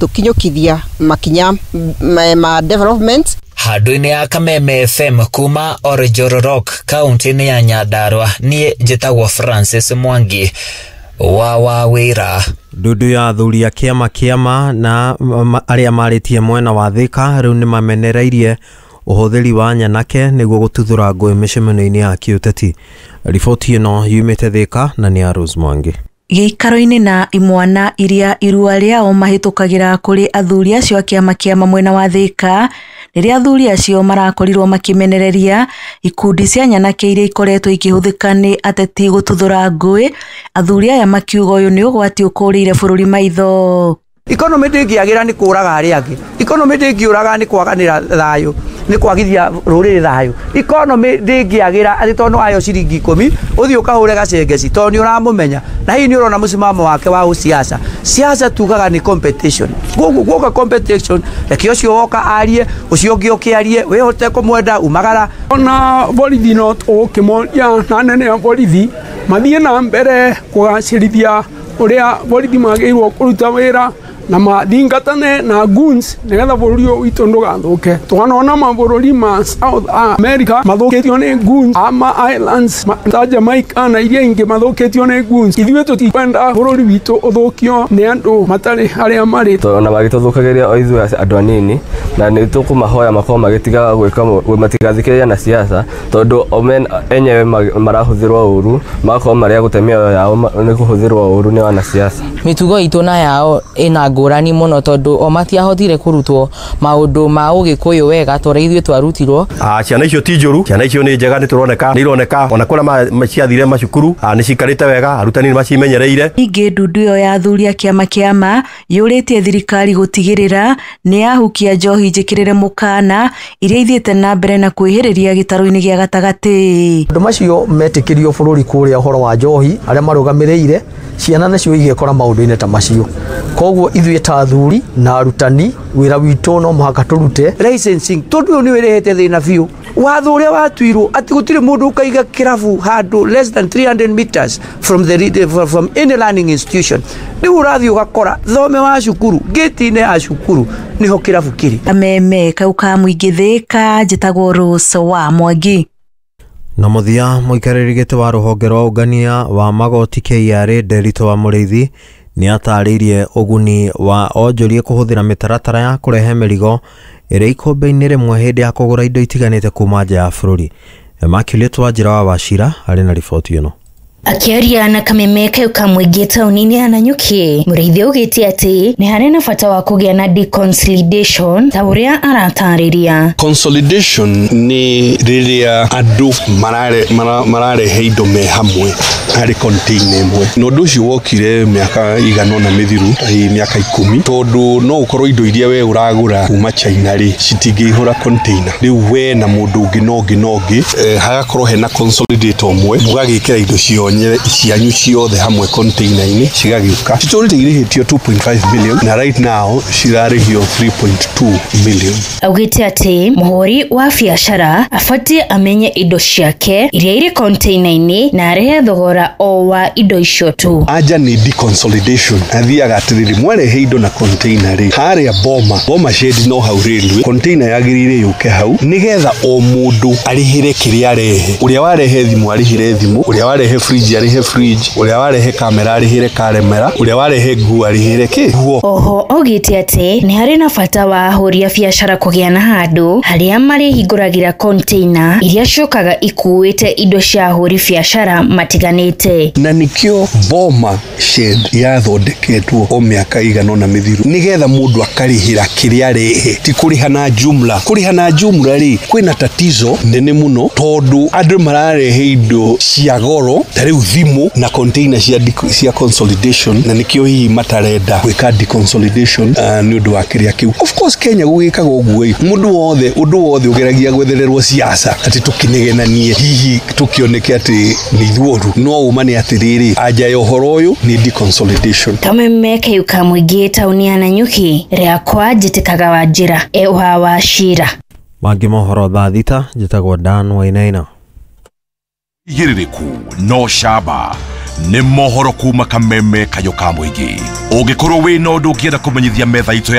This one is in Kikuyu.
Tukinyũkithia makinya ma development. Handũ-inĩ ya Kameme FM kuma Oljororok kaunti-inĩ ya Nyandarua, niĩ njĩtagwo Francis Mwangi wa Wawĩra. Ndundu ya athuri a kĩama kĩama na arĩa marĩtie mwena wa Thika rĩu nĩmamenereirie ũhũthĩri wa nyanake nĩguo gũtuthũra ngũĩ mĩcemanio-inĩ ya kĩũteti. Riboti ĩno yumĩte Thika na nĩ ya Rose Mwangi. Gĩikaro-inĩ na imwana iria irua rĩao mahĩtũkagĩra kũrĩ athuri acio a kĩama kĩama mwena wa Thika, rĩrĩa athuri acio marakorirwo makĩmenereria ikundi cia nyanake iria ikoretwo ikĩhũthĩka nĩ ateti gũtuthũra ngũĩ, athuri aya makiuga ũyũ nĩ ũgwati ũkũrĩire bũrũri maitho. Economy ndĩngĩagĩra nĩ kũraga arĩa angĩ, economy ndĩngĩũraga nĩ kwaganĩra thayũ, nĩ kwagithia rũrĩrĩ thayũ. Economy ndĩngĩagĩra atĩ tondũ wayo ciringi 10 ũthiĩ ũkahũre gacengeci tondũ nĩ ũramũmenya na hihi nĩ ũrona mũsimamo wake wa ũsiasa. Siasa tugaga nĩ competition, koguo guoka competition, reke ũcio woka arie, ũcio ũngĩ ũke arie, wĩhote kũmwenda umagara. Ona borithi no tũkĩmoria na anene a borithi mathiĩ na mbere kũgacĩrithia ũrĩa borithi magĩrĩirwo kũruta wĩra na mathingatane na goons nĩgetha bũrũri ũyũ witũ ndũgathũke. Twanona mabũrũri ma South America mathũkĩtio nĩ goons, ama islands ta Jamaica na iria ingĩ mathũkĩtio nĩ goons. Ithuĩ tũtikwenda bũrũri witũ ũthũkio nĩ andũ matarĩ harĩa marĩ. Ona magĩtũthũkagĩria o ithuĩ andũ anini, na nĩ tũkũmahoya makorwo magĩtiga gwĩka, matigathikĩrĩria na siasa tondũ o enyewe marahũthĩrwo ũru, magakorwo marĩ a gũte mĩoyo yao nĩ kũhũthĩrwo ũru nĩ wanasiasa. Mĩtugo itũ na yao ĩna ngũrani mũno tondũ o matiahotire kũrutwo maũndũ ma ũgĩkũyũ wega ta ũrĩa ithuĩ twarutirwo. Ciana icio ti njũru, ciana icio nĩ njega, nĩ tũroneka, nĩ ironeka ona kũrĩa ciathire macukuru nĩ cikarĩte wega, arutani nĩ macimenyereire. Ningĩ ndundu ĩyo ya athuri a kĩama kĩama yũrĩtie thirikari gũtigĩrĩra nĩ yahukia njohi njĩkĩrĩre mũkana iria ithiĩte na mbere na kwĩhĩrĩria gĩtarũ-inĩ gĩa gatagatĩ. Andũ macio metĩkĩrio bũrũri kũrĩa ũhoro wa njohi arĩa marũgamĩrĩire ciana nacio igekora maũndũ-inĩ ta macio. Koguo ithuĩ ta athuri na arutani wĩra witũ no mũhaka tũrute licensing tondũ ũyũ nĩ wĩrehete thĩna biũ. Watho ũrĩa watuirwo atĩ gũtirĩ mũndũ ũkaiga kĩrabu handũ less than 300 meters from the from any learning institution. Rĩu ũrathiĩ ũgakora thome wa cukuru gate-inĩ ya cukuru nĩho kĩrabu kĩrĩ. Kameme kau ka mũingĩ Thika, njĩtagwo Rose wa Mwangi. Na mũthia mũikarĩri gĩtĩ wa rũhonge rwa ũngania wa magoti KRA Nderitu wa Mũrĩithi nĩ atarĩirie ũguni wa onjoria kũhũthĩra mĩtaratara ya kũrehe mĩrigo ĩrĩ ikũmbĩ-inĩ rĩmwe hĩndĩ ya kũgũra indo itiganĩte kuma nja ya bũrũri. Immaculate Wanjira wa Wachira arĩ na riboti ĩno. Akĩaria na Kameme kau ka mũingĩ taũni-inĩ ya Nanyuki, Mũrĩithi augĩte atĩ nĩ harĩ na bata wa kũgĩa na deconsolidation ta ũrĩa aratarĩria. Consolidation nĩ rĩrĩa andũ mararehe indo me hamwe harĩ container ĩmwe, na ũndũ ũcio wokire mĩaka igana ũna mĩthiru, mĩaka 10, tondũ no ũkorwo indo iria we ũragũra kuma China rĩ citingĩihũra container. Rĩu we na mũndũ ũngĩ na ũngĩ na ũngĩ, hagakorwo hena consolidator ũmwe, mũgagĩkĩra indo cianyu ciothe hamwe container-inĩ cigagĩũka. Citũrĩte irĩhĩtio 2.5 million na right now cirarĩhio 3.2 million. Augĩte atĩ mũhũri wa biacara abatiĩ amenye indo ciake iria irĩ container-inĩ na arehe thogora o wa indo icio tu. Anja nĩ deconsolidation, athiaga atĩrĩrĩ, mwarehe indo na container rĩ, harĩa boma shed no hau railway, container yagĩrĩire yũke hau nĩgetha o mũndũ arĩhĩre kĩrĩa arehe. Ũrĩa warehe thimũ arĩhĩre thimũ, ũrĩa warehe fridge arĩhe fridge, ũrĩa warehe kamera arĩhĩre kamera, ũrĩa warehe nguo arĩhĩre kĩ nguo. Oho augĩte atĩ nĩ harĩ na bata wa ahũri a biacara kũgĩa na handũ harĩa marĩhingũragĩra container iria ciũkaga ikuĩte indo cia ahũri biacara matiganĩte. Na nĩkĩo boma shed yathondeketwo o mĩaka igana ũna mĩthiru nĩgetha mũndũ akarĩhĩra kĩrĩa arehe, ti kũrĩha na jumla. Kũrĩha na jumla rĩ, kwĩna tatizo nene mũno tondũ andũ mararehe indo cia goro ta rĩu thimũ na container cia consolidation, na nĩkĩo hihi matarenda gwĩka deconsolidation nĩ ũndũ wa kĩrĩa kĩu. Of course Kenya gũgĩkaga ũguo ĩ, mũndũ wothe ũndũ wothe ũgeragia gwethererwo siasa atĩ tũkĩnegenanie hihi tũkĩoneke atĩ nĩ ithuoru, no ũma nĩ atĩrĩrĩ, anja ya ũhoro ũyũ nĩ deconsolidation. Kameme kau ka mũingĩ taũni ya Nanyuki, rĩakwa njĩtĩkaga Wanjira wa Wachira. Mangĩ mohoro thaa 6, njĩtagwo Dan Wainaina. Igĩrĩrĩku no camba Nĩ mohoro kuma Kameme Kayo ka mũingĩ. Ũngĩkorwo wĩna ũndũ ũngĩenda kũmenyithia metha itũ ya